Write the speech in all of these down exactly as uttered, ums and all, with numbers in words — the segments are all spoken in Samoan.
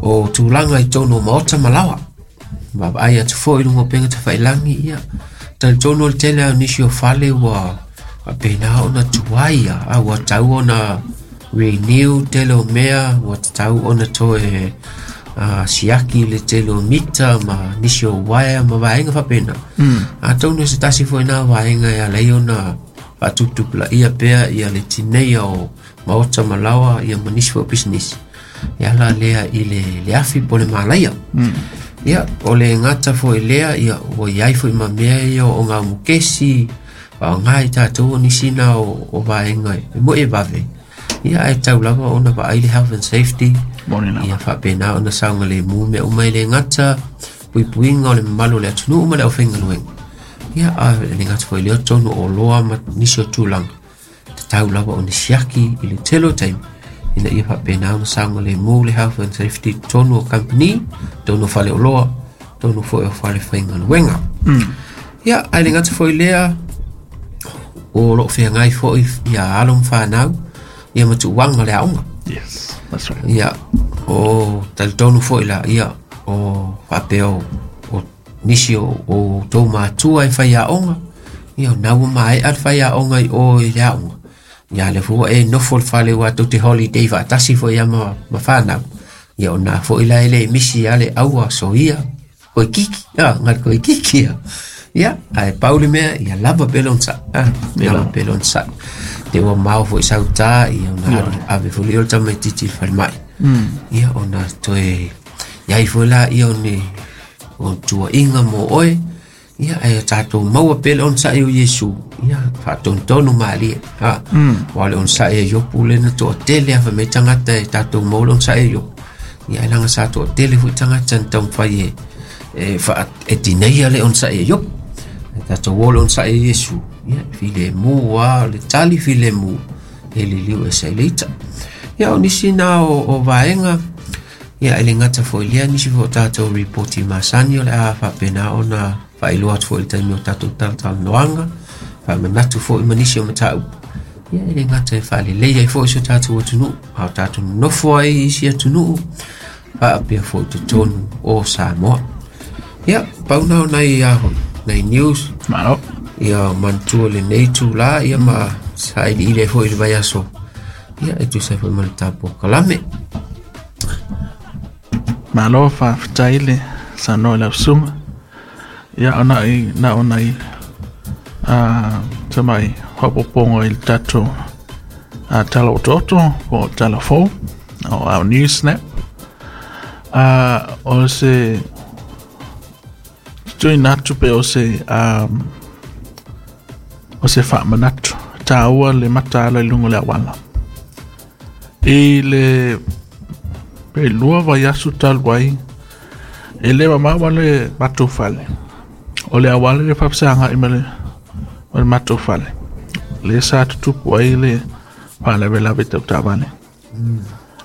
O tulaga i totonu o maota ma laoa. Vaavaai atu foi i luga o upega tafailagi, ia talitonu o le tele lava o nisi o fale ua faapena ona tuai a ua tatau ona renew tele o mea, ua tatau ona toe uh, siaki le tele o mita ma nisi o wire ma vaega faapena. Mm. Atonu se tasi foi na vaega e ala ai ona faatuputupulaia pea ia le tineia o maota ma laoa ia ma nisi foi o pisinisi e ala lea i le, le afi po o le malaia. Mm. Ia, o le gata foi lea, ia, ua iai foi ma mea ia o gaumukesi, faaaoga i tatou o nisi na o, o vaega e moe vave. Ia, ae tau lava ona vaai le health and safety. Moni lava. Ia faapena ona saogalemu mea uma e le gata puipuiga o le mamalu o le atunuu ma le aufaigaluega. Ia, a le gata foi lea o totonu o oloa ma nisi o tulaga. Tatau lava ona siaki i le tele o taimi ina ia faapena ona saogalemu le health and safety totonu o company, totonu o faleoloa, totonu foi o fale faigaluega. Mm. Ia, ae le gata foi lea, o loo feagai foi ia alo ma fanau, ia ma tuuaga o le aoga. Yes, that's right. Ia, o talitonu foi la, ia, o faapea o, o nisi o, o tou matua e fai aoga, ia o na ua maea le fai aoga i o i le aoga. Ia le fua e nofo le fale ua tou te holiday faatasi foi ia ma, ma fanau. Ia o na foi la e le misi ia le aua soia, koe kiki, ah, ngal koe kiki ia. Ia, ae pau le mea, ia lava pea le onosai, ah, lava pea le onosai. Te ua mao foi sautā, ia ona alu ave foi lea o le tamaitiiti i le falemai. Mm. Ia ona toe iai foi la ia o ni o tuuaiga mo oe, ia ae tatou maua pea le onosai o Iesu, ia faatonutonu malie. Ha. Mm. Ua le onosai e Iopu le na toatele a fai mai tagata e tatou maua le onosai e Iopu. Ia ae leaga sa toatele foi tagata na taumafai e e faa e tineia le onosai e Iopu. E tatou o le onosai e Iesu, ia filemu lava le tali filemu e liliu ese ai le ita. Ia o nisi na o, o vaega, ia e le gata foi lea nisi foi o tatou ripoti masani o le a faapena ona faailoa atu foi i le taimi o tatou talatalanoaga, faamanatu foi ma nisi o mataupu. Ia e le gata e faalelei ai foi so tatou atunuu, a o tatou nonofo ai i isi atunuu, faapea foi totonu o Samoa. Ia, pau na o nai a hoi, nai news, Malo. ia manatua lenei itulā, ia ma sailiili ai foi i le vaiaso, ia e tusa ai foi ma le tatou polokalame. Malo faafetai le saunoa i lau susuga. Ia ona i na ona i a tamai faaopoopoga i le tatou a tala otooto po o tala fou o our news snap. A o se tuuina atu pe o se um, o se faamanatu taua le mataala i luga o le auala. I le pe lua vaiaso talu ai, e le mamao ma le matou fale. O le auala le faafesagai ma le ma le matou fale. Le sa tutupu ai le faalavelave tau taavale.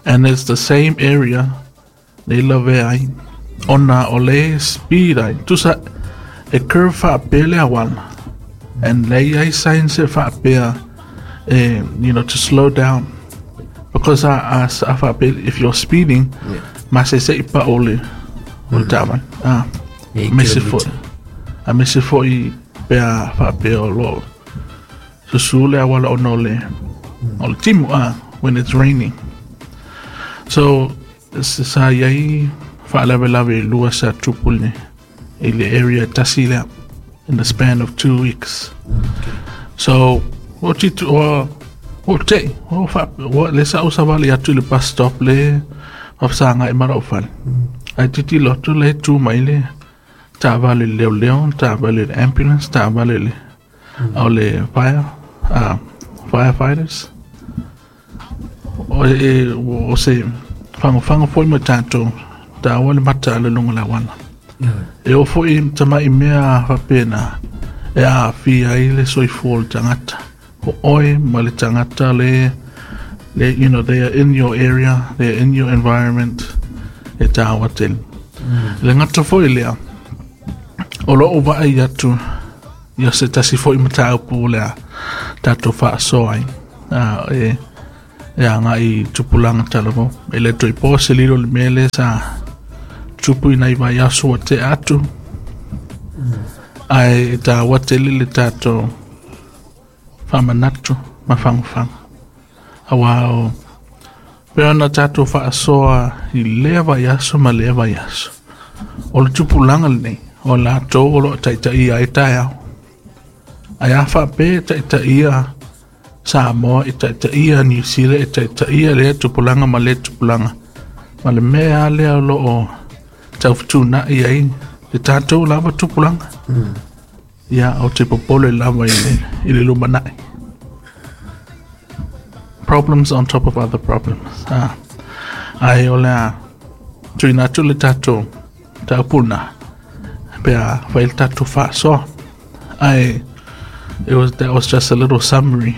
And it's the same area le lavea ai ona o le speed ai. Tusa e curve faapea le auala. And le i ai signs e faapea eh, you know, to slow down. Because a, a, a faapea, if you're speeding, Yeah. ma se se i pa o le o le taavale. Ah, Eight me se foi. kilometre. A me se foi pea faapea o lo susu le auala ona o le o le timu ah, when it's raining. So sa iai faalavelave e lua sa tupu le i le area tasi lea in the span of two weeks. So o titu o o te o fa o le sa o savali atu i le bus stop le faafesagai ma lou fale. Ai tilotilo atu le tu mai le taavale le leoleo, taavale le ambulance, taavale le o le fire uh, firefighters. O e o se fagofago foi ma tatou taua le mataala i luga o le auala. E oo foi tama'i mea faapena e aafia ai le soifua o le tagata. O oe ma le tagata le le you know they are in your area, they are in your environment e taua tele. Le gata foi lea o loo vaai atu ia se tasi foi mataupu o le a tatou faasoa ai. Ah, e E agai i tupulaga talavou. E le toe po se lilo i le mea lea sa tupu i nai vaiaso ua tea atu. Ae e taua tele le tatou faamanatu ma fagofaga. Auā o pei ona tatou faasoa i lea vaiaso ma lea vaiaso. O le tupulaga lenei o latou o loo taitaia ai taeao. Ae a faapea e taitaia Samoa, e taitaia Niu Sila, e taitaia lea tupulaga ma lea tupulaga. Ma le mea lava lea o loo taufutunai ai le tatou lava tupulaga. Ia, ou te popole lava i le, i le lumanai. Problems on top of other problems. Ah. Ae o le a tuuina atu le tatou mataupu lena pe a fai le tatou faasoa. Ae it was, that was just a little summary.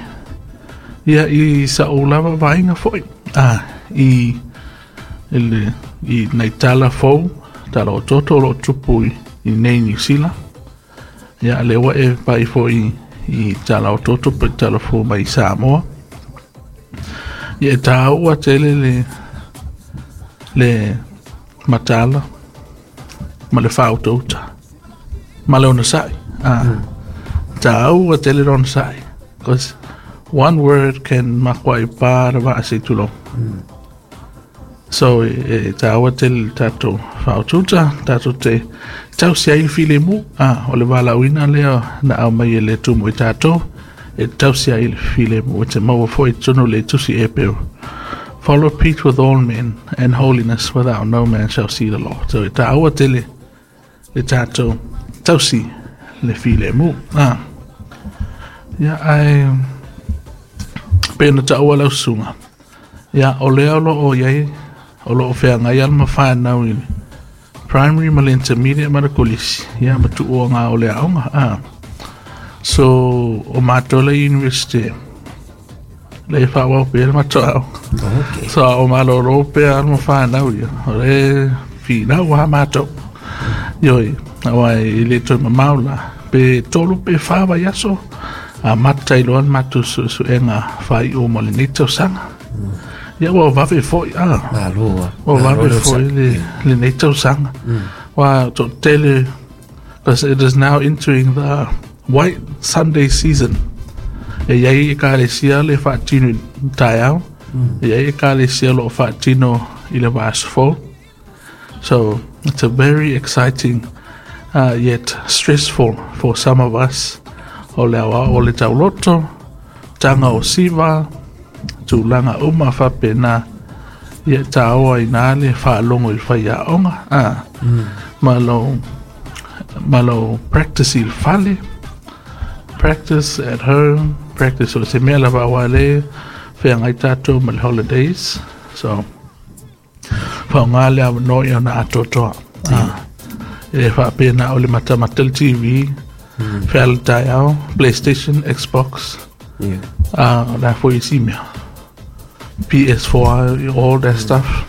Ia, i sa'u lava vaaiga foi ah, i, i, le, i nai tala fou, tala otooto o loo tupu i, i nei Niu Sila. Ia, lea ua e vaai foi i tala otooto po o tala fou mai Samoa. Ia, e taua tele le, le matala ma le faautauta ma le onosai. Ah, mm. Taua tele le onosai. Because one word can makuai pa le vaa se tulou. Mm. So, e, e taua tele le tatou faautauta, tatou te tausi ai le filemu. Ah, o le valaauina lea na aumai e le Atua mo i tatou, e tausi ai le filemu. E te maua foi i totonu o le tusi Epeu. Follow peace with all men and holiness without no man shall see the Lord. So, e taua tele le tatou tausi le filemu. Ah. Ia, ae pei ona taua lau susuga. Ia, o lea o loo iai, o loo feagai alo ma fanau i le primary ma le intermediate ma le kolisi. Ia, ma tuuaga o le aoga. Ah. So, o matou la i university, lea e faaauau pea le matou aoga. Okay. So, a o malōlō pea alo ma fanau ia, o lea e finau lava matou. Ioe, aua e le toe mamao la, pe tolu pe fa vaiaso, amata ai loa le matou suesuega faaiu mo lenei tausaga. Ia, ua vave foi, ah. Malo a. Ua Malo vave le foi le, lenei tausaga. Ua toatele, because it is now entering the White Sunday season. E iai ekalesia le faatino i taeao, e iai ekalesia o loo faatino i le vaiaso fou. So, it's a very exciting uh, yet stressful for some of us. O le aoao o le tauloto, taga o siva, tulaga uma faapena. Ia, e taoa i ina le faalogo i le faiaoga. Ah, ma lou, ma lou practice i le fale. Practice at home, practice o se mea lava aua lea feagai tatou ma le holidays. So, faaaoga le avanoa ia ona atoatoa. Ah, e le faapea na o le matamata le T V, feala taeao, PlayStation, Xbox, Yeah. ah, o le a foi isi mea. P S four, all that stuff.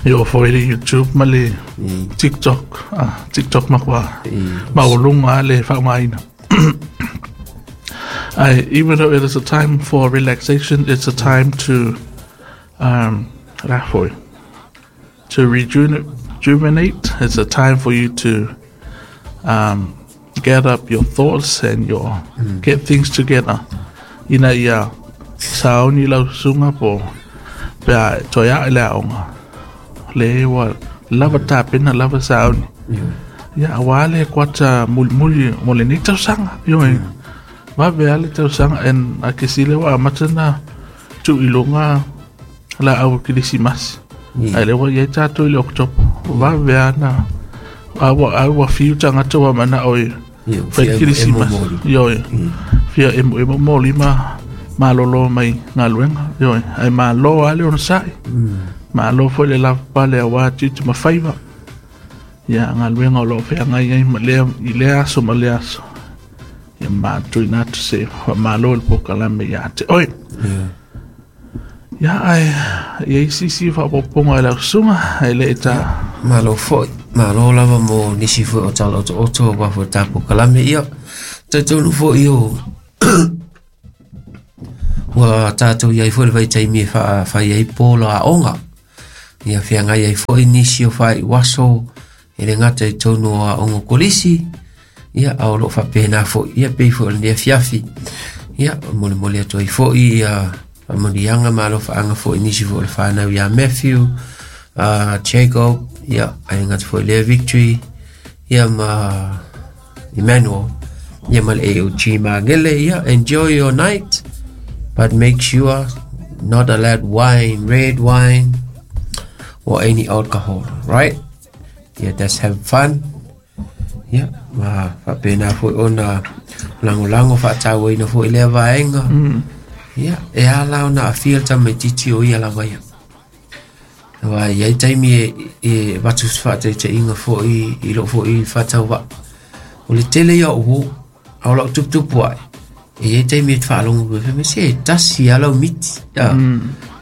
E oo foi le YouTube ma le Mm. TikTok. Ah, TikTok makuā Mm. maualuga le faaaogaina. Ae, even though it is a time for relaxation, it's a time to um, o le a foi, to rejuvenate. Rejuvenate. It's a time for you to um, get up your thoughts and your get things together. Ina ia sauni lau susuga po pe a toe ae le aoga. Le ua lava tapena lava sauni. Yeah. Ia, auā le kuata mulimuli mo lenei tausaga. Ioe, vave lava le tausaga and akesi lea ua amata ona tuu i luga laau o kerisimasi. Yeah. Ae lea ua i ai tatou i le October. Vave lava na a ua a ua fiu tagata ua manao e Yeah. fai Fia emo kerisimasi. moli. Ioe, fia emoemo moli ma malōlō mai galuega. Ioe, ae malo lava le onosai. Malo foi le lavapapale auā tiute ma faiva. Ia, galuega o loo feagai ai ma lea i lea aso ma lea aso. Ia matuina atu se faamālo i le polokalame iā te oe. Yeah. Ia, ae i ai se isi faaopoopoga e lau susuga ae le i ta. Malo foi. Malo lava mo nisi foi o tala otooto auā foi le ta polokalame. Ia, talitonu foi o Ua tātou iai foi le vaitaimi e faafai ai polo aoga. Ia feagai ai foi nisi o faaiuaso e le gata i totonu o aoga kolisi, ia a o loo faapena foi ia pei foi o lenei afiafi. Ia molemole atu ai foi ia faamanuiaga ma alofaaga foi nisi foi o le fanau ia Matthew, uh, Jacob, ia ae gata foi lea Victory, ia ma Emmanuel, ia ma le A O G Magele. Ia enjoy your night, but make sure not allowed wine, red wine or any alcohol, right? Yeah, just have fun. Yeah, ma faapena foi ona lagolago faatauaina foi lea vaega. Yeah, e ala ona afia le tamaititi o ia lava ia. Wa iai taimi e, e avatu se faataitaiga foi i loo foi faatauvaa. O le tele ia o uō, a o lau tuputupu ae, e iai taimi e te faalogo koe, me se e tasi a lau miti.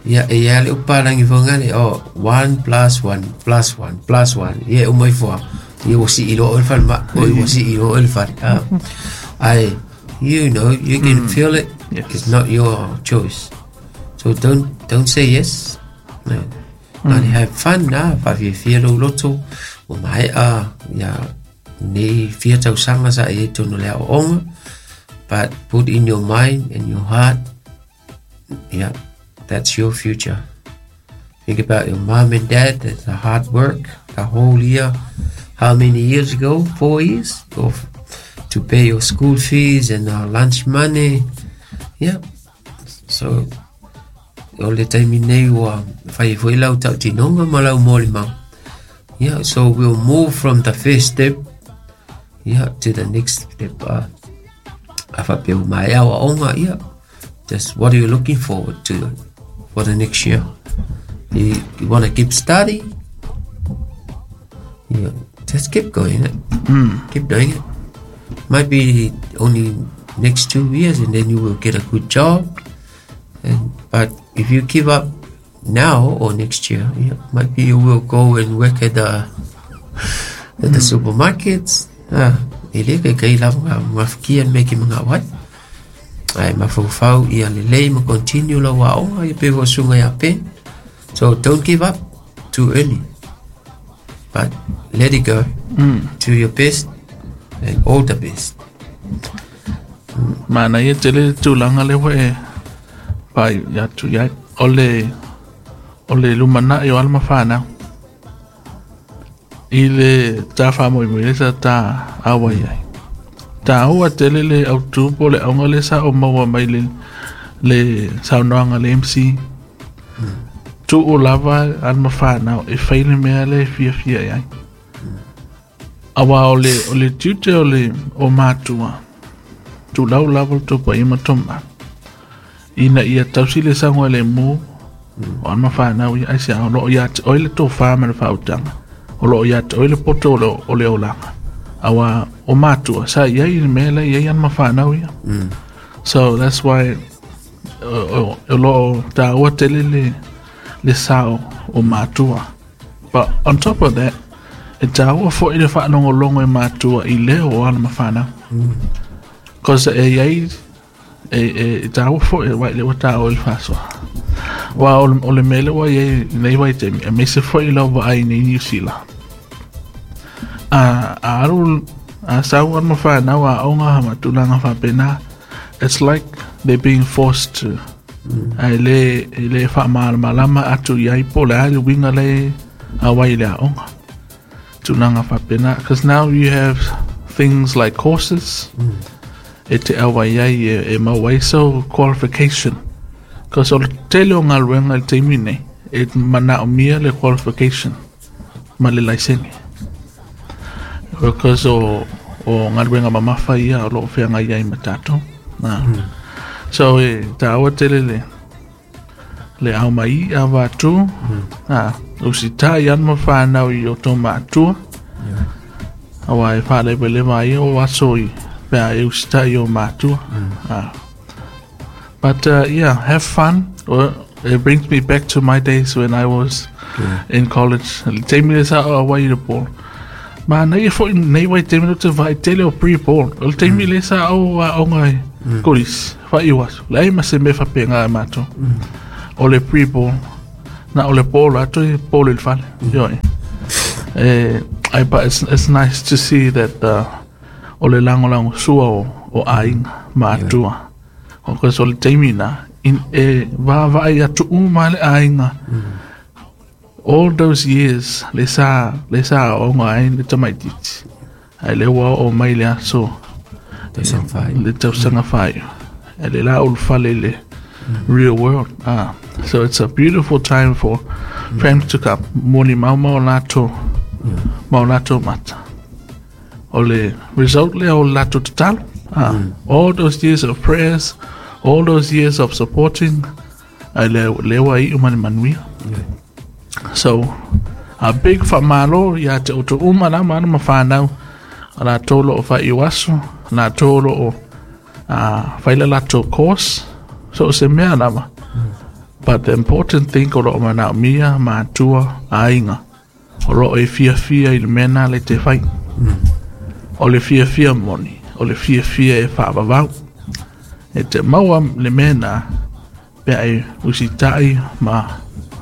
Ia, e ia le upalangi fongale, oh, one plus one plus one plus one. Ia, umai fua. Ia, ua sii loa oe le falemai, oi ua sii loa oe le fale. Ah. Ai, you know, you can feel it. Yes. It's not your choice. So don't, don't say yes. No. Mm. Have fun na, faafiafia lou loto, ua maea, ia, nei fia tausaga sa e tonu le aoaoga, but put in your mind and your heart, yeah, that's your future. Think about your mom and dad, that's the hard work, the whole year. How many years ago? Four years? Or to pay your school fees and uh, lunch money. Yeah. So, o le taimi nei ua fai foi lau tautinoga ma lau molimau. Yeah, so we'll move from the first step, yeah, to the next step. Uh, a faapea ua maea aoaoga, yeah. Just what are you looking forward to for the next year? You, you want to keep studying? Yeah, just keep going. Eh? Mm. Keep doing it. Might be only next two years and then you will get a good job. And but if you give up now or next year, yeah, might be you will go and work at the at the supermarkets. Ah, e le kai kai lava ngā mafikia me ki mga wai. Ai mafaufau ia lelei ma continue lau aoga ia pe sunga ia pe. So don't give up too early, but let it go. Mm. Do your best and all the best. Mana ia tele tulaga le hoe pai ia tu ia o le o le lumana'i o ala ma fanau i le tāfaamoemoe le sa tā auai ai. Tāua tele le autū po le auga le sa o maua mai le le saunoaga le M C. Tuu lava ala ma fanau e fai le mea le e fiafia i ai. Auā o le o le tiute o le o matua tulau lava le tupuaʻi ma toma ina ia tausi le sagoa lemu o ala ma fanau ia aisea o loo iā te oe le tofā ma le faautaga o loo iā te oe le poto o le, o le olaga auā o matua sa iai le mea la iai ana ma fanau ia. So that's why o loo tāua tele le le sao o matua. But on top of that, e tāua foi le faalogologo e matua i leo o ala ma fanau. Cause e iai e e tāua foi wai le ua tāua i le faasoa. Wa o le, o le mea le ua iai nei vaitaimi e maise foi lau vaai nei New Zealand. A a alu a sau ala ma fanau aoga ma tulaga faapena, it's like they're being forced to. Ae le e le faamalamalama atu iai po o le a le uiga le auai i le aoga tulaga faapena. Cause now you have things like courses e te auai ai e, e maua ai sau qualification. Cause o le tele o galuega i le taimi nei e manaomia le qualification ma le laisene. Because o o galuega mamafa ia o loo feagai ai ma tatou. Na. So e tāua tele le le au mai a vatu. Ah, usita i ana ma fanau i o tō mātua. Aua e whaalewelewa ai o aso i pea e usita i o mātua. Ah. But uh, yeah, have fun. Well, it brings me back to my days when I was in college. Le taimi le sa o auai i le polo. Ma nei e foi nei vai taimi le te vai tele o pre-polo. O le taimi le sa au aoga e Kolisi, faaiu aso, leai ma se mea faapega e matou. O le pre-ball, na o le ball a toe ball i le fale. Ioe. Eh, ai, but it's, it's nice to see that uh, o le lagolago sua o, o aiga ma atua. Because o le taimi na, in, e vaavaai atu uma le aiga. All those years, le sa, le sa aoga ai le tamaitiiti. Ai le ua oo mai le aso Tausaga faaiu. le tausaga faaiu. E le la ulufale i le real world. Ah, so it's a beautiful time for families to come. Moni mau ma o latou, ma o latou mata. O le result lea o le latou tatalo. Ah, all those years of prayers, all those years of supporting, ai le le ua iu ma le manuia. So, a big faamalo ia te outou uma lava alo ma fanau, o latou o loo faaiu aso, latou o loo uh, fai le latou course, so o se mea lava. But the important thing o loo manaomia matua aiga, o loo e fiafia i le mea na le te fai. O le fiafia moni, o le fiafia e faavavau. E te maua le mea na pe a e usitai ma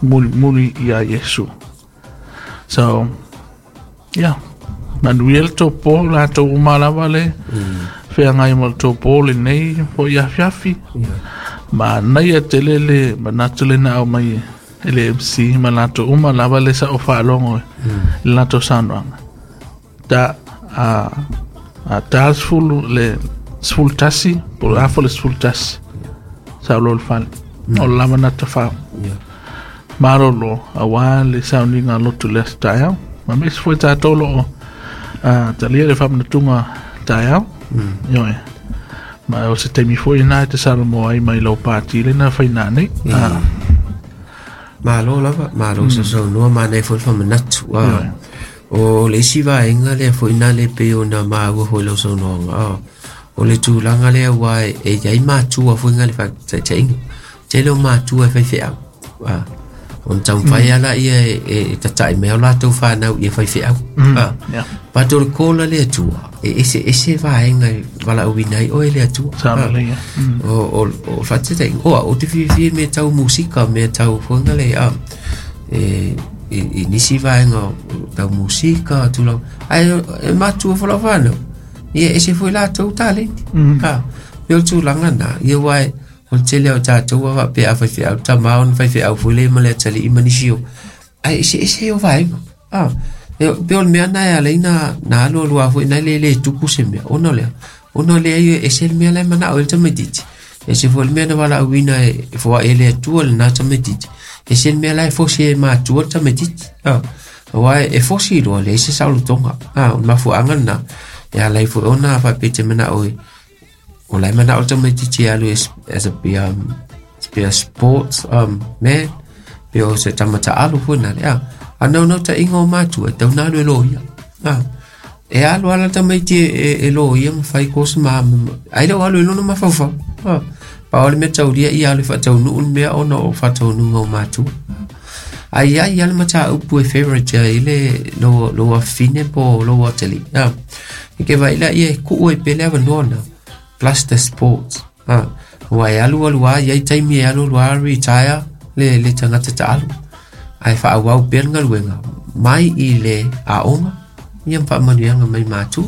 mulimuli ia Iesu. So, yeah. Manuia le tou po latou uma lava le feagai ma le tou po lenei foi afiafi. Ma naia tele le manatu le na au mai e le M C ma latou uma lava le sa o faalogo i le latou saunoaga. Ta a a ta sefulu le sefulu tasi po o le afa le sefulu tasi sa o lo le fale. O le lava na tafao. Malolo auā le sauniga lotu le aso taeao. Ma aemaise foi tatou loo uh, talia le faamanatuga taeao. Ioe. Ma o se taimi foi na e te salamo ai mai lau pati le na faina nei. Ah, Malo lava, malo mm. sausaunoa manaia foi le faamanatu. Ah. O le isi vaega lea foi na le pei ona maua foi lau saunoaga. Ah. O le tulaga lea ua e, e iai matua foi nga le faataitaiga. Tele o matua e faifeau. Ah. Ona taumafai ala ia e, e, e tata'i mai o latou fanau ia faifeau. Ah. yeah. But o le call a le Atua, e ese ese vaega e valaauina ai oe le Atua. Sa Ah. lelei, ia. Mm. O o o faataitaiga, o au te fiafia i mea tau musika, mea tau foiga le a e i, i nisi vaega o tau musika tulaga ae e matua foi lau fanau ia ese foi latou talenti. Mm. Ha pe o le tulaga na ia ua e o le tele o tatou a faapea a faifeau tamā ona faifeau foi le ma le atalii ma nisi o ae eseese o vaega a e pe o le mea na e ala ai na na alu alu a foi na le le tupu se mea ona o lea ona o lea e ese le mea la e manao ai le tamaitiiti ese foi le mea na valaauina e e foaʻi e le Atua lena tamaitiiti ese le mea la e fosi e matua le tamaitiiti a auā e fosi loa leai se saolotoga a o le mafuaaga lena e ala ai foi ona faapea te manao e o la e manao le tamaitiiti e alu as, as a be um, be a sports um, man pe o se tamataalu foi na le a a naunautaiga o matua e tau na alu e loia a e alu ala tamaiti e, e, e loia ma fai kosi ma ai le o alu i lona mafaufau a pa o le mea taulia ia alu e faataunuu le mea ona o faataunuga o matua ai ai ia le mataupu e favorite ai le lo lo afine po lo atali a e ke vai la ia e kuu e pele avanoa na plus the sports a ua e alu alu a iai taimi e alu alu a retire le le tagata taalu ae faaauau pea le galuega mai i le aoga ia ma faamanuiaga mai matua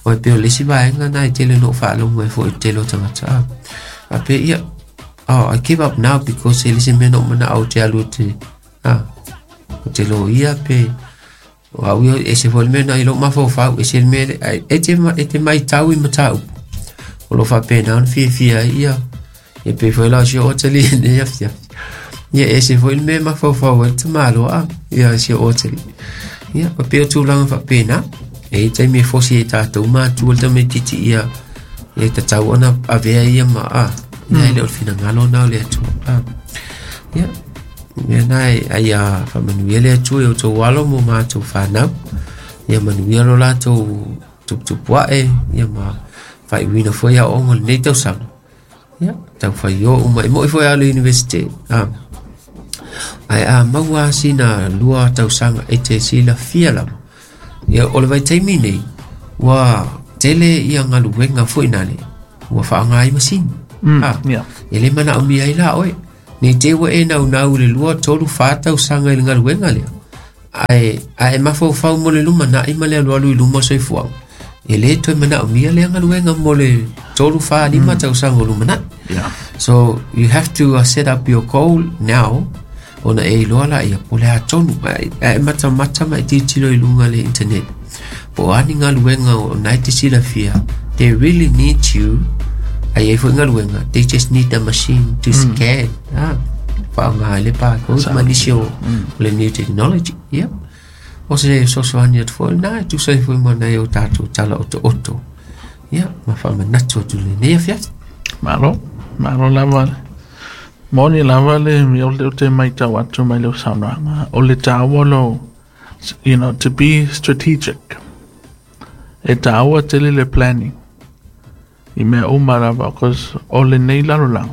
o e pei o le isi vaega na e tele ona ou faalogo ai foi i le tele o tagata a faapea ia, oh, I give up now because e le se mea na ou manao te alu te a o te loia pe o au ia ese foi le mea na i lou mafaufau ese le mea le- e te ma- e te maitau i mataupu o lo faapena ona fiafia ai ia e pei foi la o si o atalii nei afiafi ia ese foi le mea mafaufau ai le tamāloa a ia si o atalii ia o pei o tulaga faapena e i taimi e fosi ai tatou matua le tamaitiiti ia ia tatau ona avea ia ma a ia e le o le finagalo na o le Atua a ia mea na e ai a faamanuia le Atua i outou alo mo matou fanau ia manuia lo latou tuputupu ae ia ma faaiuina foi aoaoga o lenei tausaga ia tau fai o uma e moi foi a le university a ae a maua sina lua tausaga e te silafia lava ia o le vaitaimi nei ua tele ia galuega foi na le Ua whaangai masini. Mm, ah, yeah. E le mana o mia i la oe. Nei te ua e nau nau le lua tolu whātau sanga i le ngaluenga lea. Ae, ae mawhau mo le luma na ima le alu alu i luma soifuaga. E le toe mana o mia le ngaluenga mo le tolu wha lima mm. tau sanga o luma na. Yeah. So you have to uh, set up your goal now. Ona e iloa la ia po le a tonu. Ae mata mata ma i titilo i lunga le internet. Po ani ngaluenga o nai te silafia. They really need you. Ai ai foi ngaluenga. They just need a machine to mm. scan. Ah, whaanga le pa ko manisi o le new technology. Yep. O se sosoani atu foi na tu sai foi mana e o tātou tala o to oto. Ia, ma whamanatu atu le nei afiafi. Malo, malo lava. Moni lava le mi o le te mai tau atu mai le saunoaga. O le tāua lo, you know, to be strategic. E tāua tele le planning. I mea uma lava, cause o le nei lalolagi.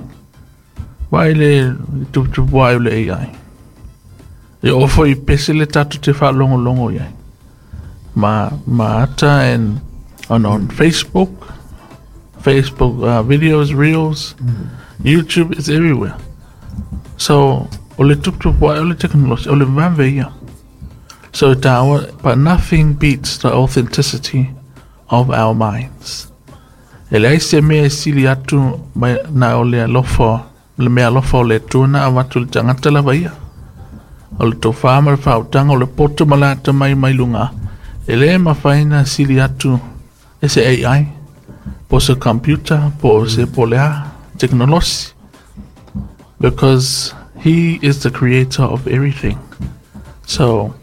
Vai le tuputupu ai o le A I. E ofo i pese le tatou te whaalongolongo iai. Ma, ma ata and on, on Facebook, Facebook uh, videos, reels, mm. YouTube is everywhere. So, o le tuputupu ai o le technology, o le vave ia. So, tāua, but nothing beats the authenticity of our minds. E leai se mea e sili atu mai na o le alofa, le mea alofa o le tuna a watu le tangata lava ia. O le tofā ma le whautanga o le poto ma lata mai mai lunga. E le mawhaina sili atu e se A I, po se computer, po se polea, technology. Because he is the creator of everything. So,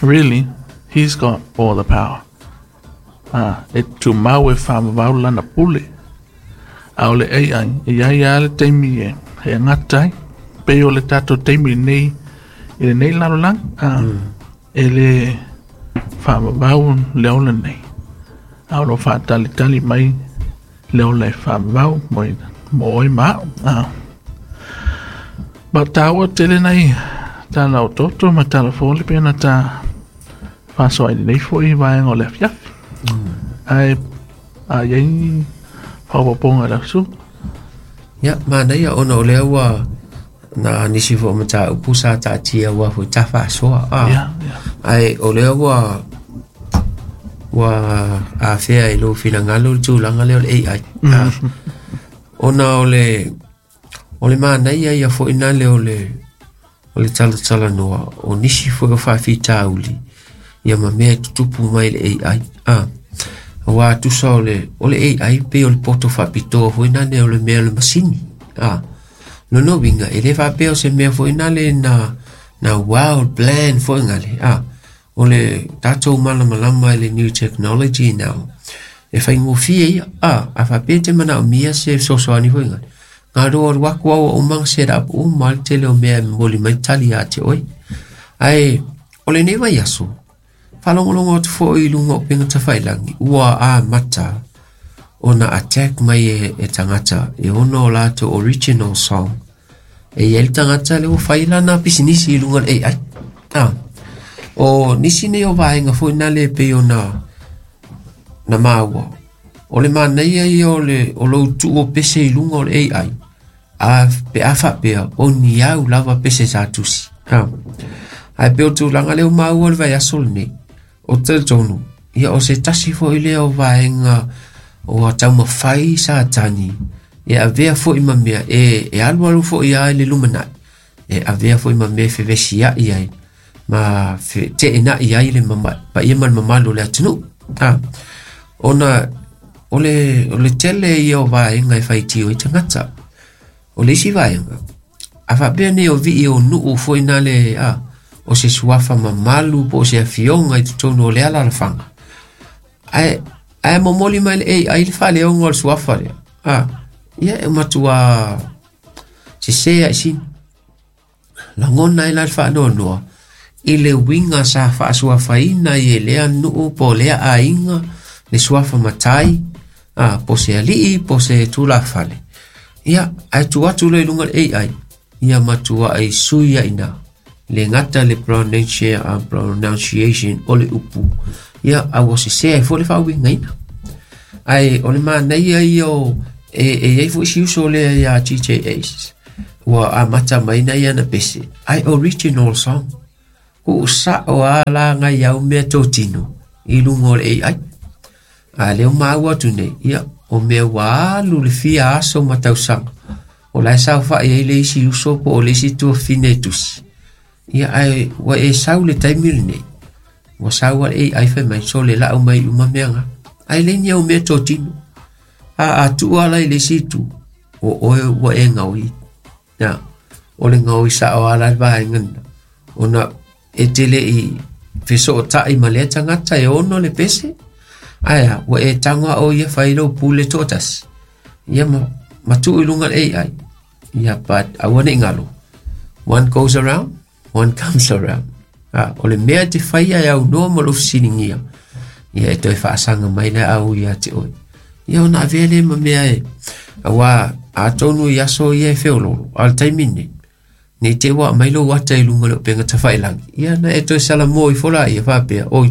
really, he's got all the power. Ah, e tu mau e whamawau lana pule. A o le A I, e iai a le teimi e, he ngatai, pe o le tātou teimi nei, i le nei lalolagi, ah, mm. e le whamawau le ola nei. A o lo whaatalitali mai le ola e whamawau mo, mo oi mao. Ah. Ba tāua tele nei, tāna o toto ma tāla fōle pena tā whasoa i nei fo i vaenga o le afiafi. Mm. Ai a iai whawaponga la su. Ia, mana ia ona o lea ua na nisi fo mata upusa ta tia ua fo ta whasoa. Ah. Yeah, yeah. Ai o lea ua ua a fea i lo finangalo le tūlanga lea o le A I. Mm. Ah. Ona o le o le mana ia ia fo ina le o le o le tala tala noa o nisi fo o whawhitauli ia ma mea tutupu mai le A I. Ah. Wa tusa o le o le A I pe o le poto whapitoa fo ina le o le mea o le masini. Ah. No no winga e le whapea o se mea fo ina le na na wild plan fo inga le. Ah. O le tātou malamalama i le new technology now. E whaingofie ia. Ah. A whapea te mana o mia se sosoani fo inga. Ngā roa ruaku au o umanga set up o mal tele o mea moli mai tali a te oi. Ai, o le nei vai aso. Whalongolongo atu fo i lunga o penga tawhailangi. Ua a mata o na attack mai e, e tangata. E ono o lātou original song. E i el tangata le o whaila na pisinisi i lunga le A I. Ah. O nisi nei o vaenga fo ina le pe o na, na maua. O le manaia ia o le o lou tuu o pese i lunga o le A I. A pe a whapea o ni au lava pese sa tusi. Ah. Ai pe o tūlanga leo maua le vai aso le nei. O te tonu. Ia o se tasi fo i lea o vaenga o a taumawhai sa tani. E avea fo i mamea e, e alu alu fo i ai le lumanai. E avea fo i mamea fevesi ai ai. Ma fe, te ena i ai le mama, pa ia ma le mamalu le atunu. Ah. Ona o le, o le tele ia o vaenga e whaitio i tangata. O le isi vaenga. A whapea nei o vii o nuu fo ina le, ah, o se suafa mamalu po o se afionga i tutonu o le ala alafanga. Ae, ae momoli mai le A I le whaleonga o le suafa lea. Ah, ia e matua se sea i sini. Langona i la le whaanoanoa. I le winga sa whaasuafaina i e lea nuu po lea ainga le suafa matai, ah, po se alii, po se tūlafale. Ia, ae tu atu le lunga le A I. Ia matua ai suia ina. Le ngata le pronunciation, pronunciation o le upu. Ia, a ua se sea e fo le whaawinga ina. Ai, o le manaia ia o E e iai fo'i si uso lea iā G J Ace ua amata mai na ia na pese ai original song ku'u sa'o a lagai au mea totino i luga o le A I. A lea ua maua atu nei ia o mea ua alu le fia aso ma tausaga o lae saofa'i ai le isi uso po o le isi tuafine e tusi ia ae ua e sau le taimi lenei ua sau a le A I fai mai sole la'u mai uma meaga ae le ni au mea totino a a tu'u ala i le isi itu o oe ua e gaoi ia o le gaoi sa'o ala le vaega lena ona e te le'i feso'ota'i ma lea tagata e ono le pese ae a ua e tago a'o ia fai lou pule to'atasi ia ma ma tu'u i luga le A I ia but aua ne'i galo one goes around one comes around a o le mea te faia e aunoa ma lou fesiligia ia e toe fa'asaga mai le au ia te oe ia ona avea lea ma mea e auā atonu i aso ia e feololo a o le taimi lenei nei te ua aumai lou ata i luga o le upega tafa'ilagi ia na e toe salamo ifo laia faapea oi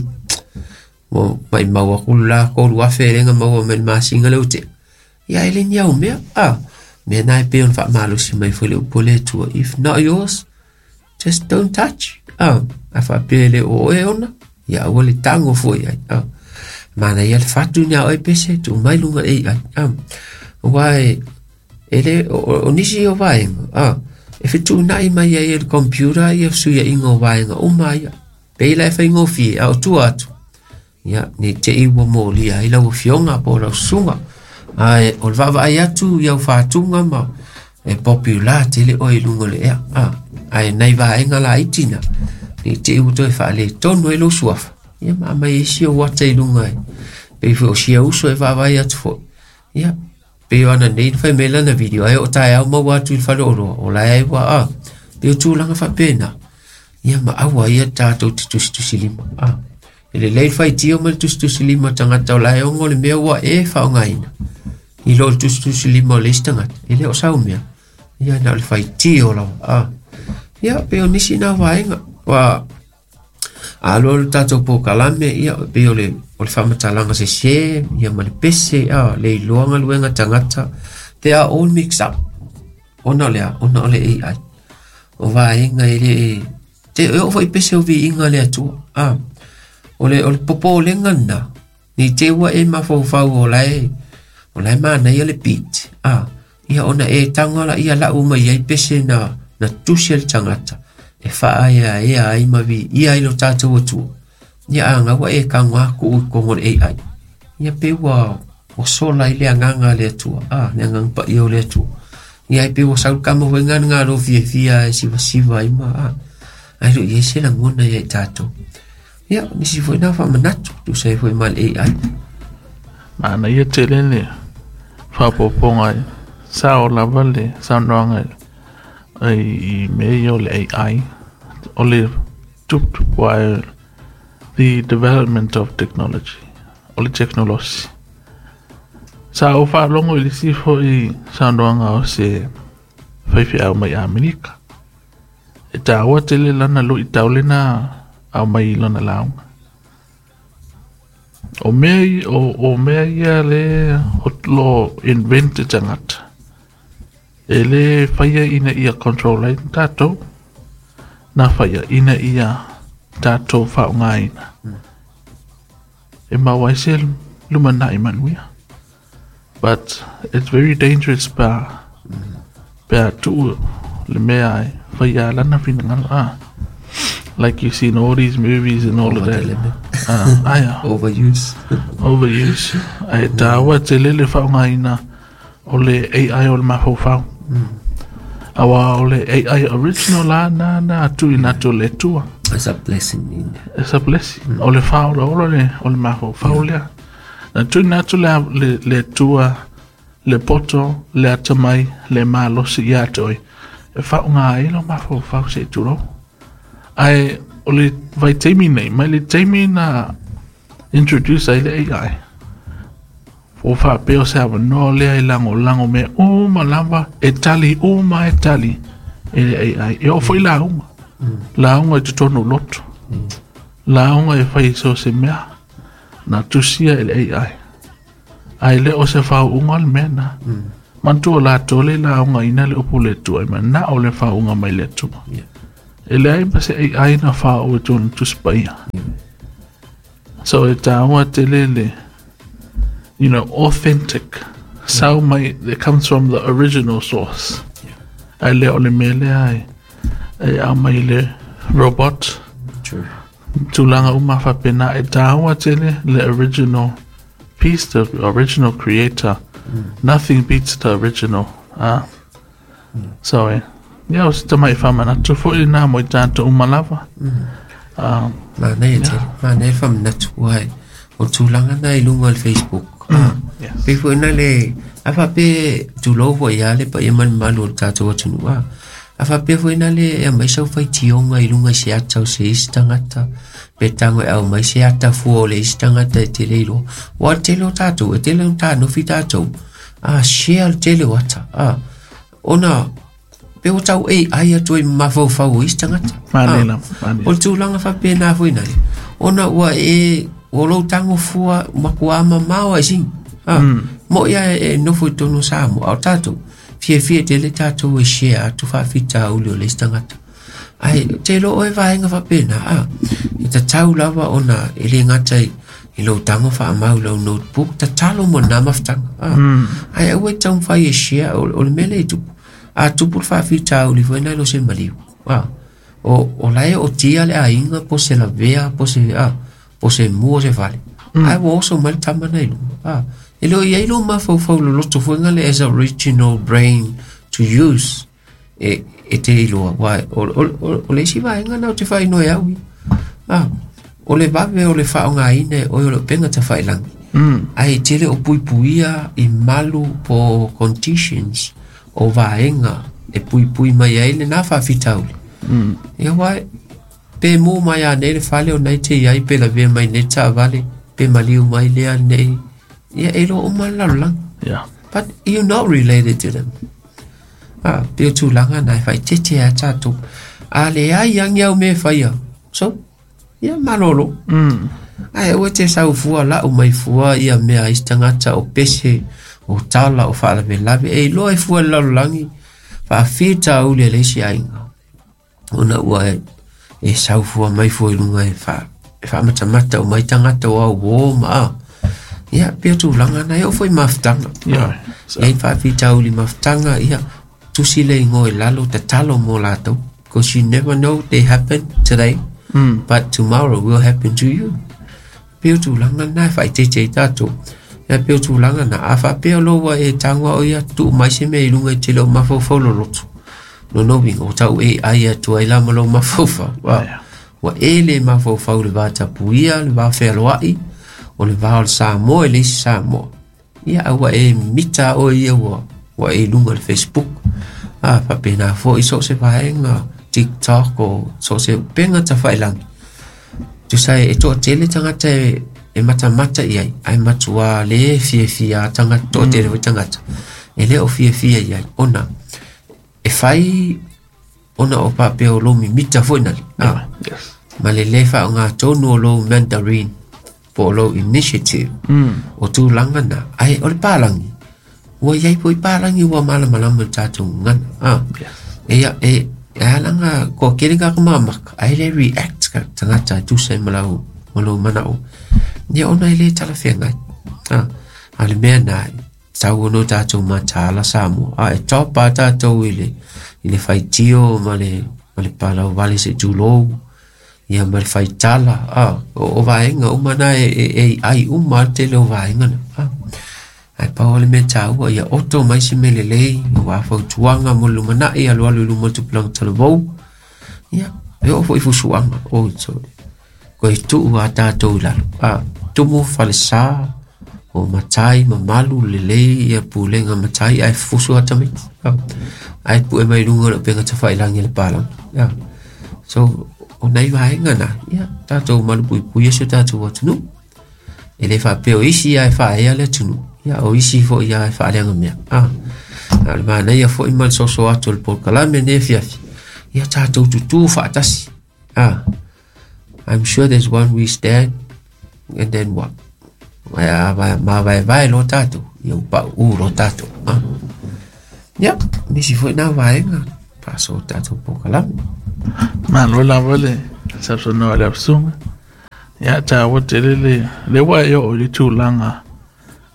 ua ma'imau aku le la kolu afe e lega maua mai le masina le utea ia e le ni au mea a mea na e pei ona fa'amalosi mai foi le upu a le Atua if not yours just don't touch a a faapea e le o oe ona ia aua le tago foi ai a mana ia le fatu ni a oe pese tuu mai luga le A I a auā e e le o, o nisi o vaega a e fetu'una'i mai ai e le computer ia fesuia'iga o vaega uma ia pei la e faigofie a o tua atu ia nei te'i ua molia ai lau afioga po o lau susuga ae o le vaavaai atu i au fatuga ma e popular tele oe i luga o le ea a ae nai vaega laiti na nei te'i ua toe faaletonu ai lou suafa ia ma aumai ai sia ou ata i luga e pei foi o sia uso e vaavaai atu foi ia pei o ana nei na fai mai lana video ai o taeao maua atu i le fale oloa o lae ai ua a pei o tulaga faapena ia ma aua ia tatou te tusitusi lima a e lelei le faitio ma le tusitusi lima o tagata o lae ogo le mea ua e faaaogaina i lo le tusitusi lima o le isi tagata e le o sau mea ia na o le faitio lava a ia pei o nisi na vaega ua alo le tatou pokalame ia pei o le o le faamatalaga sesē ia ma le pese a le iloa galuega tagata they are all mixed up ona o le a ona o le A I o vaega e le te e oo foi pese o viiga le Atua a o le o le popolega lena nei te ua e mafaufau o lae o lae manaia le beat a ia ona e tago laia la'u mai ai pese na na tusi e le tagata e fa'aeaea ai ma viia ai lo tatou Atua ia a gaua e tago aku'u i kogo o le A I ia pei ua ua sola ai le agaga a le Atua a le agaga paia o le Atua ia ai pei ua sau le kama foi gana galo fiafia e sivasiva ai ma a ae lo'o i ai se lagona ia i tatou ia nisi foi na fa'amanatu tusa ai foi ma le A I. Manaia tele le faaopoopoga e sao lava le saunoaga i i mea ia o le A I o le tuputupu ae the development of technology o le tekonolosi. Sa ou faalogo i le isi fo'i saunoaga o se faifeau mai Amerika. E tāua tele lana lu'itau lena aumai i lana lauga. O mea i- o, o mea ia le o lo invent e tagata. E le faia ina ia control ai tatou. Na faia ina ia tatou faaaogaina. E maua ai se lumana'i manuia. But it's very dangerous pa pe a tu'u le mea e faia lana finagalo ah. Like you see in all these movies and all of that. Ah, aia. Overuse. Overuse. Ae tāua tele le faaaogaina o le A I o le mafaufau. Auā o le A I original la na na tuuina atu e le Atua. It's a blessing in It's a blessing. O le faaolaola le o le mafaufau lea. Na tuuina atu le, le, le Atua le poto, le atamai, le malosi ia te oe. E faaaoga ai lo mafaufau se i tulou. Ae o le vaitaimi nei, mai le taimi na introduce ai le A I. O faapea o se avanoa lea e lagolago mea uma lava e tali uma e tali e le A I. E oo foi lauga. Lauga i totonu o loto. Lauga e fai so se mea na tusia e le A I. Ai le o se faauuga o le mea na. Manatua o latou le laugaina le upu le Atua, e manao le faauuga mai le Atua. E leai ma se A I na faauu e tonu Tusi Paia. So e tāua tele le, you know, authentic. Sau mai, that comes from the original source. Ai le o le mea lea e, e au mai le robot. True. Tulaga uma faapena e tāua tele le original piece, the original creator. Mm. Nothing beats the original. Ah. Mm. So, eh, yeah, o se tamai whamanatu foi nā mo i tātou umalava. Mm. Um, Mānei e tele, mānei e whamanatu ai. O tulaga na i lunga o le Facebook. Mm. Yes. Pe foi na le, a whape tulou foi ia le pa ia manu malu o le tātou atunu. Ah. A whape foi na le e mai sau whai tionga i lunga se ata o se isi tangata. Pe tango e au mai se ata fua o le isi tangata e te leilo. Wa tele o tātou, e tele o tānofi tātou. Ah, share le tele o ata. Ah, ona, pe o tau e ai atu e mawhauwhau o isi tangata. Mānei mānei. O le tūlanga whape nā foi nai. Ona ua e, o lou tango fua makua ama maua e sing. Ah, mo ia e nofo i tono sa mo au tātou. Fia fia te le tātou e share atu whaafita uli o le isi tangata. Ai, te lo oe vaenga whapena, ah. E tatau lava ona e le ngata i, i lou tango whaamau lau notebook, tatalo mo nā mawhtanga. Ah. Mm. Ai, au e tau whai e share o, o le mele i tupu. A tupu le whaafita uli foi nai lo se maliu. Ah. O, o lae o tia le ainga po se lavea, po se, ah, po se mua se fale. Mm. Ai, wo oso mai le tama nei lunga. Ah. E leo iai lo mawhauwhau lo loto fuenga le as original brain to use e, e te iloa. Wai, o, o, o, o le isi vaenga nau te whainoe au. Ah, o le vave o le whaonga ine o le penga ta whailangi. Mm. Ai tele o puipuia i malu po conditions o vaenga e puipui mai ai le nā whawhitauli. Mm. Ia wai, pe mō mai a nei le whale o nei te iai pe la vea mai nei tā vale, pe maliu mai lea nei. Ia e lo o mai lalo. Yeah. But you're not related to them. Ah, pe o tūlanga nai whai te te a tātou. A le ai ang iau me whaia. So, ia malolo. Mm. Ai, ua te sau fua la o mai fua ia mea isi tangata o pese, o tala, o whaalawe lawe. E loa e fua lalo langi, whaafita uli e leisi ainga. Ona ua e, e sau fua mai fua i lunga e wha, e whaamatamata o mai tangata o au o ma a. Ia, pea tūlanga nai o foi mawhtanga. Yeah. So. Ia i whaafita uli mawhtanga, ia, tusi le ingo e lalo, tatalo mō lātou. Because you never know, they happen today, mm. but tomorrow will happen to you. Pea tūlanga nai whai te te tātou. Ia pea tūlanga nā, a whapea loa e tangwa o ia, tuu mai se mea i lunga i te leo mawhauwhau lo loto. No no winga, o tau e ai atu ai la ma lo mawhauwhau. Yeah. Wa e le mawhauwhau le vātapuia, le vāwhealoai, o le vā o le Samoa e le isi Samoa. Ia aua e mita o ia ua, ua e lunga le Facebook. Ah, whapena fo i so se vaenga, TikTok o so se upenga ta whailangi. Tusa e toa tele tangata e, e matamata i ai, ai matua le fia fia tangata, toa tele mm. tangata. E le o fia fia i ai, ona, e whai ona o papea o lo mimita foi nali. Ah, yes. Ma le le wha o ngā tonu o lo Mandarin, po o lo initiative, mm. o tūlanga na, ai o le pālangi. Ua iai po i pālangi ua malamalama le tātou ngana. Ah. Yes. E, e, e alanga, ko kere ka mamaka, ai le react ka tangata e tusa i malau, malau manao. Ia ona i le talawhengai. Ah. A le mea nā, tau ono tātou matāla Samoa. Ah, e topa tātou i le, i le whaitio ma le, ma le palau vale se tūlou. Ia ma le whaitala. Ah, o, o vaenga uma nā e, e, e ai uma te leo vaenga na. Ah. Ai pau le mea tāua, ia oto mai se mele lei, ia whautuanga mo lumanai, alu alu luma tupulang talavou. Ia, e o foi fusuanga, o sorry. Ko i tuu a tātou lalo. Ah, tumu whalesa, o matai, mamalu, lelei, ia pulenga matai, ai fusu ata mai. Ah, ai pu e mai lunga le penga tawhailangi le palang. Ia, so, o nei vaenga nā, ia, tātou malu pui pui e se tātou atunu. E le whapeo isi ai whaea le atunu. Ia, o isi fo ia e whaaleanga mea. Ah, a le mana ia fo i mal soso atu le polokalame ne fiafi. Ia tātou tutu whaatasi. Ah, I'm sure there's one we stand, and then what? Ai a ma vai vai lo tatou ia pa u lo tatou. Ia, nisi foi na vaega faasoa tatou polokalame. Malo lava le sausaunoa i le ausuga. Ia taua tele le le ua e oo i le tulaga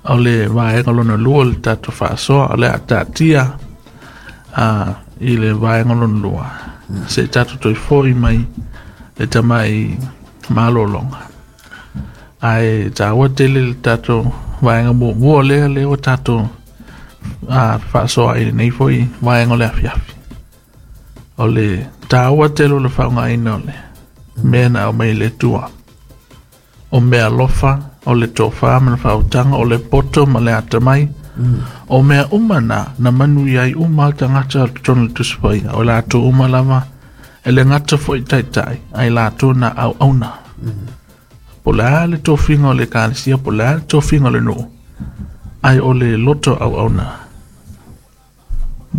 o le vaega lona lua le tatou faasoa o le a taatia a i le vaega lona lua. Se tatou toe fo'i mai le tamai malologa. Ae taua tele le tatou vaega muamua lea lea ua tatou a faasoa i lenei foi vaega o le afiafi. O le taua tele o le faaaogaina o le mea na aumai e le Atua. O mea alofa, o le tofa ma le faautaga, o le poto ma le atamai. O mea uma na, na manuia ai uma tagata o totonu o le Tusi Paia. O latou uma lava, e le gata foi taitai, ai latou na auauna. Po o le a le tofiga o le ekalesia, po o le a le tofiga o le nuu, ai o le loto auauna.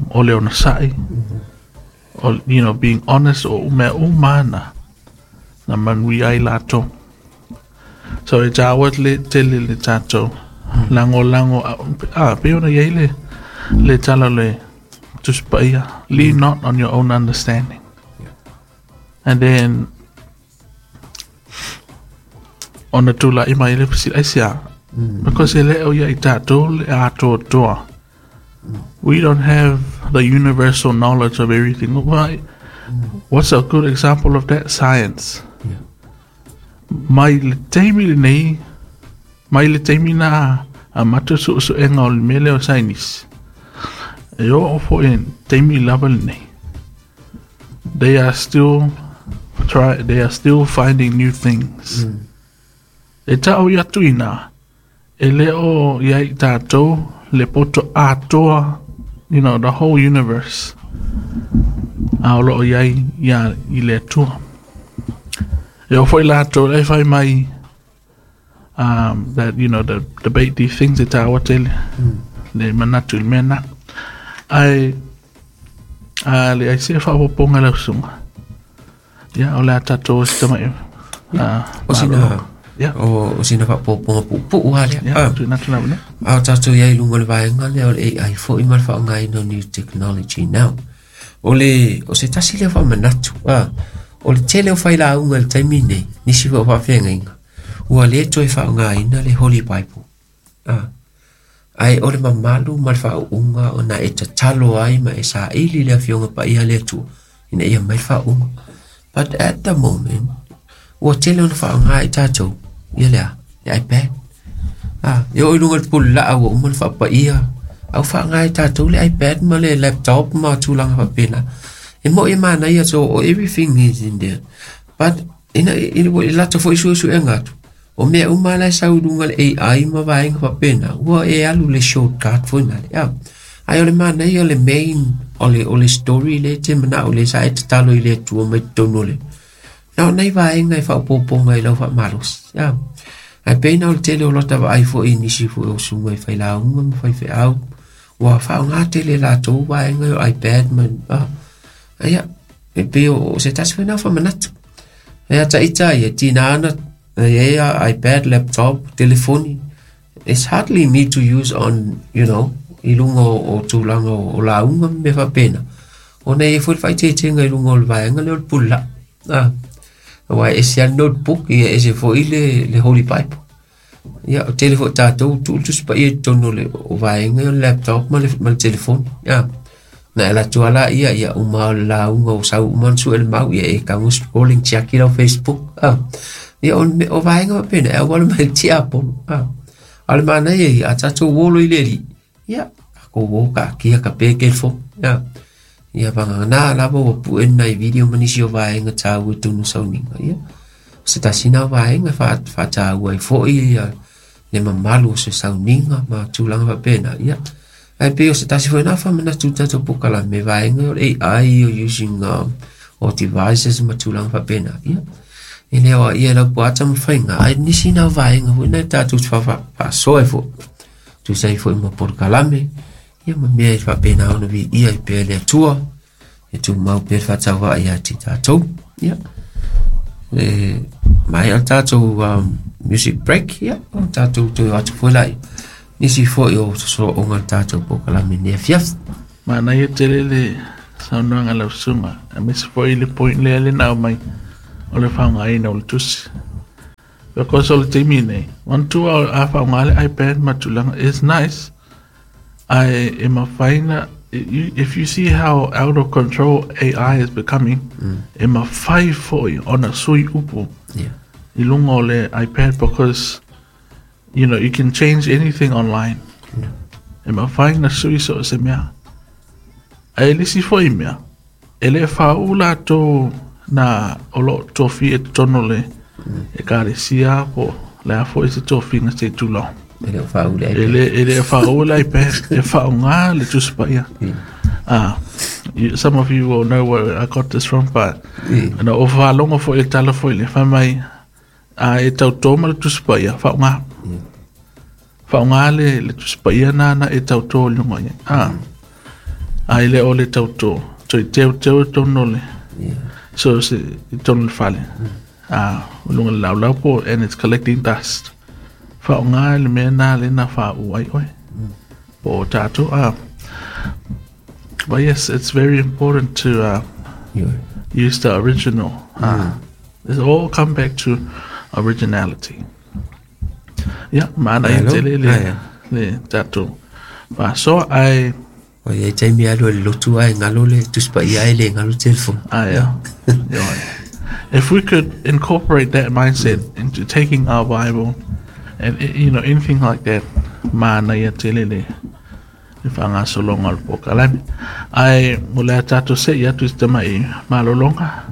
O le onosai, o, you know, being honest, o mea uma na, na manuia ai latou. So e taua le tele le tatou lagolago a pei ona i ai le le tala o le Tusi Paia, lean not on your own understanding. And then ona tula'i mai le fesili aisea, because e le o ia i tatou le atoatoa. We don't have the universal knowledge of everything. Why? What's a good example of that? Science. Yeah. Mai le taimi lenei, mai le taimi na amata suesuega o le mea lea o saienisi. E oo foi taimi lava lenei. They are still try they are still finding new things. Mm. E ta'u i atu ina, e le o ia i tatou le poto atoa, you know, the whole universe. A o loo iai ia i le Atua. E oo foi latou e fai mai um, that, you know, the debate these things e taua tele Mm. le manatu i le mea na. Ae a le ai se faaopoopoga lau susuga. Ia o le a tatou se tamai ah, O sina malologa. Ia. o, o sina faaopoopoga puupuu lava lea. Ia, Ah. tuuina atu le avanoa. A o tatou iai luga o le vaega lea o le A I foi ma le faaaogaina o new technology now. O le o se tasi lea faamanatu a o le tele o failauga i le taimi nei, nisi foi o faafeagaiga, ua lē toe faaaogaina le Holy Bible. A ae o le mamalu ma le faauuga ona e tatalo ai ma e saili le afioga paia le Atua ina ia mai le faauuga. But at the moment, ua tele ona faaaoga i tatou ia lea, le iPad. Ah, e oo i luga o le pululaa ua uma ona faapaia, au faaaoga e tatou le iPad ma le laptop ma tulaga faapena. E mo'i e manaia so everything is in there. But ina ina ua i latou foi suesuega atu, o mea uma la e sau i luga le A I ma vaega faapena, ua e alu le shortcut foi nale. Ah. Ae o le manaia o le main o le, o le story le te manao le sa e tatalo i le Atua mai totonu o le. Na o nai vaega e faaopoopoga i lau faamalosi. Ah. Ae pei na o le tele o lota vaai foi i nisi foi o susuga i failauga ma faifeau, ua faaaoga tele latou vaega o iPad ma ah. Ia, e pei o, o se tasi foi na faamanatu. E ata ita ia tina ana e ia iPad, laptop, telefoni. It's hardly need to use on, you know, i luga o, o tulaga o, o lauga ma mea faapena. Ona e i ai foi le faaeteetega i luga o le vaega lea o le pululaa. Ah. Aua e ese lava le notebook, ia ese foi le, le Holy Bible. Ia, o tele foi tatou tuu le Tusi Paia i totonu o le o vaega o le laptop ma le, ma le telefoni. Ah. Na e alu atu lava laia, ia uma o le lauga o sau uma ona sue le mau, ia e tago scrolling tiaki lau Facebook. Ah. Ia o, o vaega faapena, e auala mai le tiapolo. Ah. A o le manaia ia, a tatou olo i le alii, ia, tatou o kaatia ka pe telefoni. Ah. Ia vagagana lava ua pue nai video ma nisi o vaega taua i totonu o sauniga. Ia, o se tasi na o vaega faataua ai foi ia le mamalu o se sauniga ma tulaga faapena. Ia, ae pei o se tasi foi na faamanatu i tatou polokalame vaega o le A I o using um, o devices ma tulaga faapena. Ia, e le o ia lau puata ma faiga, ae nisi na o vaega foi na tatou faasoa ai foi. Tusa ai foi ma polokalame, ia ma mea e faapena ona viia ai pea le Atua, e tumau pea le faatauvaa ia te tatou. Ia, e maea le tatou um, music break, ia, o tātou toe o atu foi lai. Nisi foi o sosolo'oga le tatou polokalame nei afiafi. Manaia tele le saunoaga a lau susuga, aemaise foi le point lea le na aumai o le faaaogaina o le tusi. Because o le taimi nei, manatua a faaaoga le iPad ma tulaga, it's nice, ae e mafai ona, if you see how out of control A I is becoming, e mafai foi ona sui upu Yeah. i luga o le iPad because you know you can change anything online. E mafai ona sui so o se mea. Ae le isi foi mea, e le faauu latou na o loo tofia i totonu o le ekalesia po o le a foi se tofiga se i tulou. E le o faauu le E iPad. le e le faauu le iPad, e faaaoga le Tusi Paia. Ah, you, some of you will know where I got this from, but Mm. na o faalogo foi i le tala foi le fai mai a e tautō ma le Tusi Paia, faaaoga. Faaaoga le, le Tusi Paia na na e tautō i luga i ai. Ah, a e le o le tautō, toe teuteu i totonu o le, Yeah. so se i totonu o le fale. Ah, o luga o le laulau po, and it's collecting dust. Faaaoga le mea na le na faauu ai oe. Po o tātou, ah. But yes, it's very important to uh, Ioe. use the original. Uh, It all come back to originality. Yeah, manaia Malo. tele le, Ah, yeah. le tātou. Faasoa ai, O iai taimi alu e le lotu ae galo le Tusi Paia ae le galo telefoni. ai, yeah. Yeah. If we could incorporate that mindset into taking our Bible and you know anything like that, manaia tele le le faagasologa o le polokalame. Ae o le a tatou se'i atu i se tama'i malologa,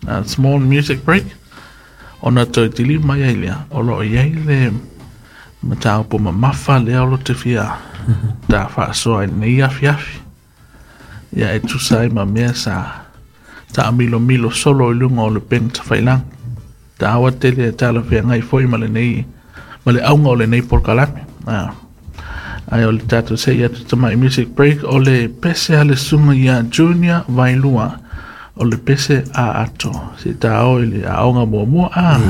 a small music break, ona toe tili mai ai lea, o loo i ai le mataupu mamafa lea o lo te fia ta faasoa i lenei afiafi. Ia e tusa ai ma mea sa taamilomilo solo i luga o le upega tafailagi. Taua tele e talafeagai foi ma lenei ma le auga o lenei polokalame. Ah. Ae o le tatou se'i atu tama'i music break o le pese a le susuga ia Junior Vailua o le pese a ato. Se tā o i le aoga muamua. Ah.